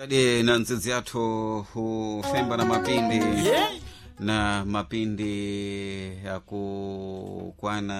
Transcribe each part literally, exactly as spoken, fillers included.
Tadi na nzizi yathu hufemba na mapindi na mapindi yakukwana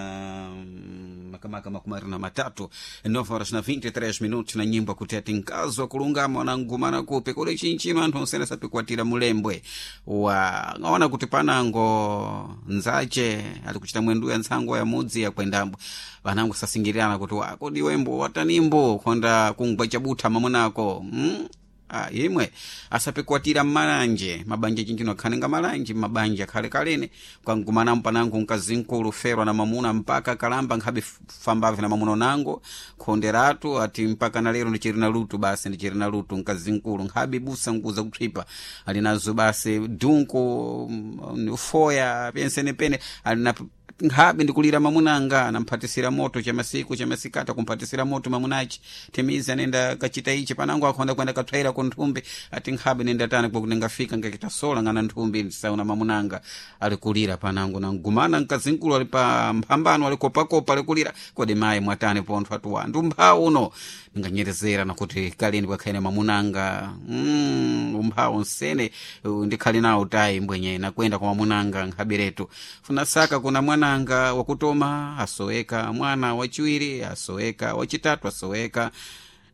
makamaka makumi na matatu nove horas na vinte e três minutos na nyimbo kuteti nkazi wa kulungama wanangumana kupi kuli chinchino anthu onsene sapikuatira mulembwe wa ng'aona kuti panango nzache ali kuchita mwenduya ntsango ya mudzi yakwendambo vanango sasingirirana kuti wakodi wembo watanimbo konda kungwa chabutha mamunako mm? Ah, imwe asapikwatira mmalanje mabanja chinchino akhalenga malanje mabanja akhale kalene kangumana mpanango mkazinkulu ferwa na mamuna mpaka kalamba nkhabe fambave na mamuna nango khonderatu ati mpaka na lero ndichiri na lutu basi ndichiri na lutu mkazinkulu nkhabe busa nkuza kutswipa ali nazo basi dunku mm, foya pensenepene ali na nkhabe ndikulira mamunanga namphatisira moto chamasiku chamasikata kumphatisira moto mamunachi temizi anenda kachita ichi panango akhonda kwenda katswaira ku nthumbi ati nkhabe nenda tani kwakuti ngafika ngakita sola ngana nthumbi ndisauna mamunanga alikulira panango nangumana mkazinkulu ali pa mphambano alikopakopa alikulira kodi mayi mwatani pontho atuwa ndumphawu uno ndinganyerezera nakuti kaleni kwakhaene mamunanga mm, umphawu nsene uh, ndikhali nawo tayi mbwenye nakwenda kwa mamunanga nkhaberetu funasaka kuna mwananga wakutoma asoweka mwana wachiwiri asoweka wachitatu asoweka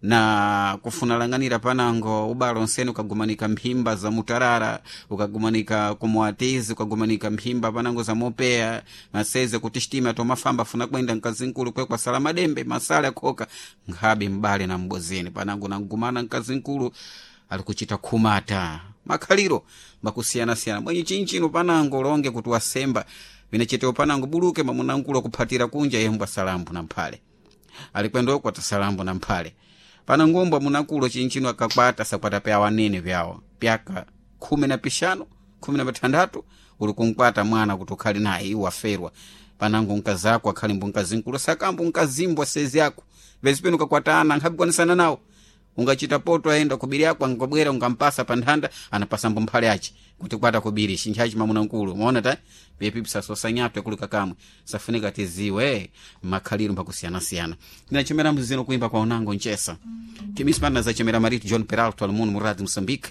na kufunalanganira panango ubalo nsene ukagumanika mphimba za mutarara ukagumanika kumuatizi ukagumanika mphimba panango za mopeya maseze kuti shitima tomafamba funa kwenda mkazinkulu kwekwa sala madembe masale akhoka nkhabe mbale na mbozeni panango nangumana mkazinkulu ali kuchita khumata makhaliro makusiyanasiyana mwenye chinchino panango longe kuti wasemba vinachitewo panango buluke mamunankulo akuphatira kunja yembwa salambu na mphale alikwendoko atasalambu na mphale pana ngombwa munakulo chinchino akakwata sakwata pya wanene vyawo pyaka khumi na pixanu khumi na pathanthatu uli kunkwata mwana kuti ukhale naye iwo aferwa panango nkazako akhale mbu nkazinkulu sakambu nkazimbwa sezi ako vezi penu ukakwatana nkhabikwanisana nawo ungachita poto aenda kubiri ako angabwera ungampasa pa nthanda anapasa mbu mphale achi kuti kwata kubiri chinthachi mamuna nkulu maona ta pepi sosanyatwe kulika kamwe safunika tiziwe makhaliro mbakusiyanasiyana ndinachemera mzino kuimba kwa unango nchesa timisipana zachemera marito John Peralto almuno muradi Moçambique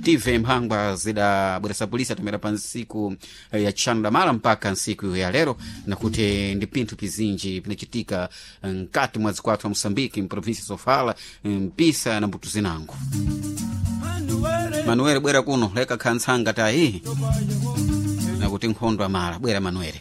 tive mphangwa zidabweresa polisi atomera pa nsiku eh, ya tchano da mala mpaka nsiku ya lero nakuti ndi pinthu pizinji pinachitika mkati mwa zikwathu wa Moçambique mprovinsia Sofala mpisa na mbuto zinango Manuel bwera kuno leka khantsanga tayi nakuti nkhondo amala bwera Manuel.